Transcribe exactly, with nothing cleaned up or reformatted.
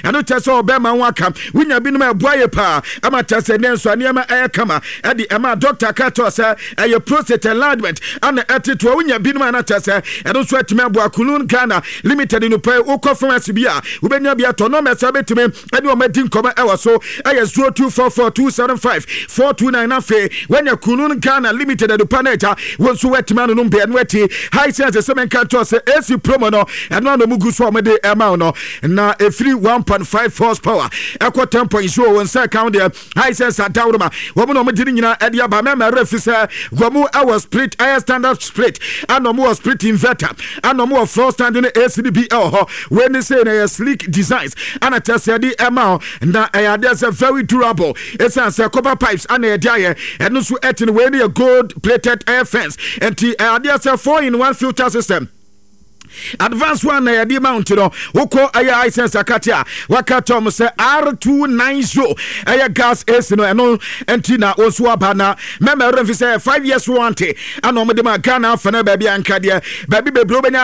Ɛno kyɛ sɛ ɔbɛrima ho aka wonya binom a ɛboa yɛ paa ama kyɛ sɛ ne nso nneɛma ɛyɛ kama ɛde ɛma doctor ka kyerɛ sɛ ɛyɛ prostate enlargement ana ɛtetoa wonya binom a na kyɛ sɛ ɛno nso atumi aboa. Kulun Ghana Limited no pɛ, wokɔ pharmacy bi a wobɛnya bi atɔ. Nɔmba sɛ wobɛtumi ɛne ɔma di nkɔmmɔ ɛwɔ so ɛyɛ zero two four four two seven five four two nine. Afei woanya Kulun Ghana Limited adupa no agya wo nso woatumi anonom bɛ ɛno akyi. Hisense sɛ menka nkyerɛ sɛ A C promo no, ɛno ano mu gu so a wɔde ɛma wo no na ɛfiri one point five horsepower ɛkɔ ten point zero wɔn nsa ka deɛ. Hisense adaworoma wɔn na wɔn de ne nyinaa ɛde aba. Mɛmɛ ɛrɛ fi sɛ wɔn ɛwɔ split, ɛyɛ standard split, ɛna wɔn wɔ split inverter, ɛna wɔn wɔ floor standing A C bi ɛwɔ hɔ. Wei ne sɛ na ɛyɛ sleek designs ɛna kyerɛ sɛ ɛde ɛma hɔ na ɛyɛ adeɛ sɛ very durable, ɛsiane sɛ copper pipes ɛna yɛde ayɛ. Ɛno nso ɛte no wei ne yɛ gold plated air fence, nti ɛyɛ adeɛ sɛ four in one filter system, advance one na yɛde mount no. Wokɔ ɛyɛ Hisense akate a waka tɔm sɛ R two ninety ɛyɛ gas A C no, ɛno nti na wɔn nso aba na mɛmɛ ɛrɛ mfi sɛ five years warranty ɛna wɔn de ma Ghana afa no baabi anka deɛ baabi bebree wobɛnya.